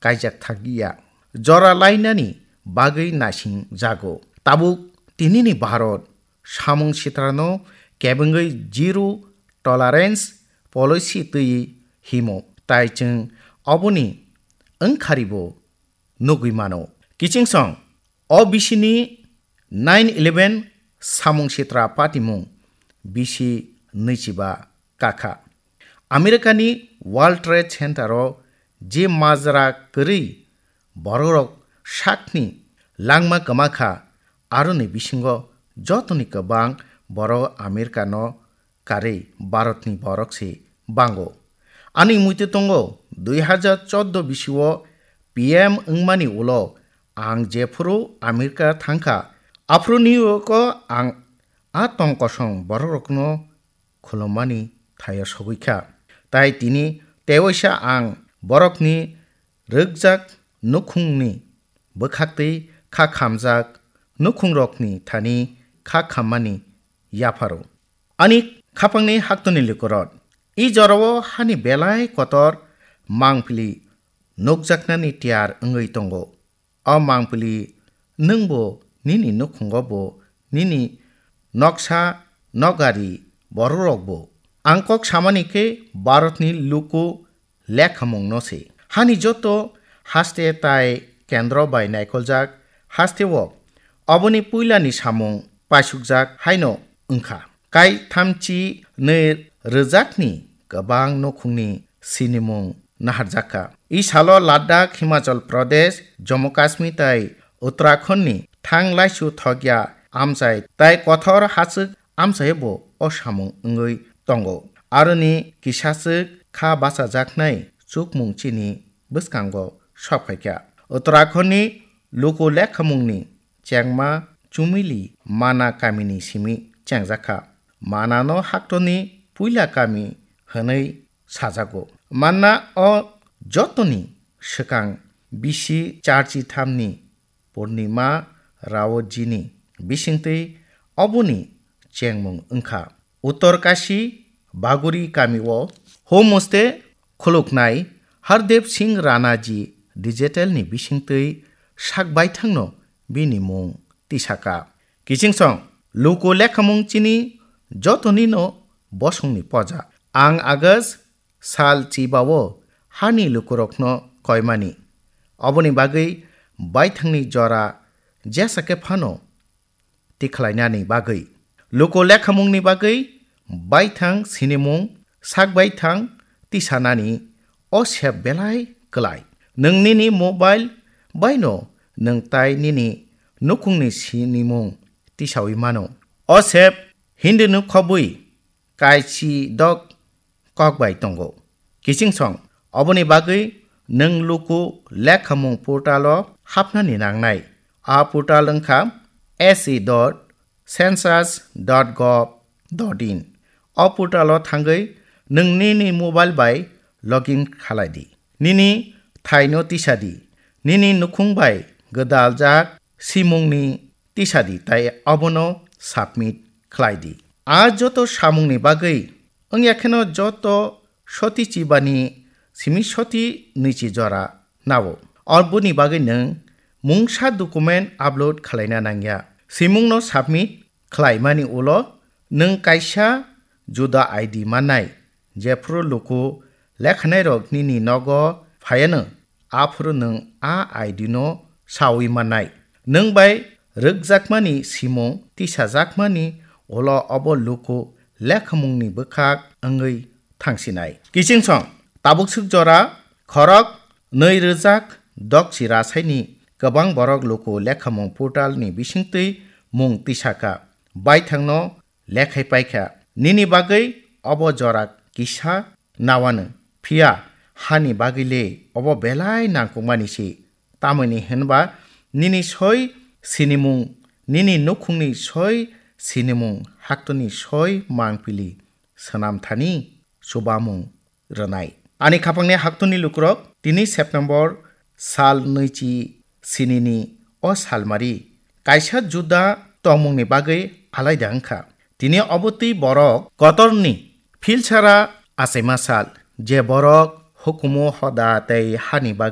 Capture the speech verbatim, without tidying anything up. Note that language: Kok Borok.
kaijak thangya. Jora lainani bagwi naising jago. Tabuk tinini Bharat samung sitrano kebengwi zero tolerance policy twiwi himo, tai chwng oboni wngkharibo nugwi mano. Kichingsong, o bisini nine eleven samung sitra patimung bisi nwichiba kakha. Americani World Trade Center o je majra kwrwi bororok sakni langma kwmakha, aroni bisingo jotoni kwbang borok Americano karwi Bharatni borok se bango. Ani muitu tongo, dui hajar chordo bisio P M wngmani ulo ang jephuru America thangkha, aphuru New Yorko ang a tong kosong bororokno khulummani thaio sogwi kha. Tai tini tewaisa ang borokni rwkjak nukhungni bwkhaktwi kha khamjak nukhungrokni thani kha khammani yapharo. Ani khapangni haktoni lukurok, i jorao hani belai kotor mangpili nukjaknani tiyar wngwi tongo. O mangpili nwngbo nini nukhungo bo, nini noksa nokgari bororokbo. Ang kok samani khe Bharatni luku lekhamungno se. Hani joto haste tai kendro bai naikoljak hasteo oboni puilani samung paisukjak haino wngkha. Kai thamchi nwi rwjakni kwbang nukhungni sinimung naharjakha. I salo Ladakh, Himachal Pradesh, Jammu Kashmir tai Uttarakhand ni thang laisu thokya amchai tai kothor hachwk amchai bo o samung wngwi tongo. Aroni kisachwk kha bachajaknai chukmung chini bwskango sophaikha. Uttarakhand ni luku lekhamungni chengma Chumili Mana kamini simi chengjakha. Manano haktoni puila kami hwnwi sajago. Manna o jotoni swkang bisi charchi thamni Purnima Raojini bisingtwi oboni chengmung wngkha. Uttor Kashi Baguri kamio homestay khuluknai Hardev Singh Ranaji Digital ni bisingtwi sak baithangno bini mung tisaka. Kichingsong, luku lekhamung chini jotonino bosongni poja. Ang August sal chibao hani lukurokno koimani. Oboni bagwi baithangni jora jesa khe phano tikhlainani bagwi. Luku lekhamungni bagwi baithang sinimung, sak baithang tisanani o sep belai kwlai. Nwng nini mobile baino nwng tai nini nukhungni sinimung tisawi mano. O sep Hindi no khobwi kaichi dok kok bai tongo. Kichingsong, oboni bagwi nwng luku lekhamung portalo hapnani nangnai. A portal wngkha S E dot census dot gov dot in. O portalo thangwi nwng nini mobile bai login khalai di. Nini thaino tisa di. Nini nukhung bai gwdaljak simungni tisa di tai obono submit khlai di. A joto samungni bagwi wngya kheno joto soti chibani simi soti nwichi jora nao. Oboni bagwi nwng mungsa document upload khlaina nangya. Simungno submit khlaimani ulo nwng kaisa juda I D mannai. Jephru luku lekhanairok nini nogo phaiano, aphuru nwng a I D no saui mannai. Nwng bai rwkjakmani simung tisajakmani ulo obo luku lekhamungni bwkhak wngwi thangsinai. Kichingsong, tabukswk jora khorok nwi rwjak dokchi rasaini kwbang borok luku lekhamung portalni bisingtwi mung tisaka, baithangno lekhai paikha. Nini bagwi obo jora kisa nawano. Phiya hani bagwi le obo belai nangkukmani se. Tamoni hwnba nini soi sinimung, nini nukhungni soi sinimung, haktoni soi mangpili swnam thani chubamung rwnai. Ani khapangni haktoni lukurok, tini September sal nwichi sinini o salmari kaisa juda tongmungni bagwi alaida wngkha. Tini obo twi borok kotorni philsara achaima sal, je borok hukumu hoda tei hani bagwi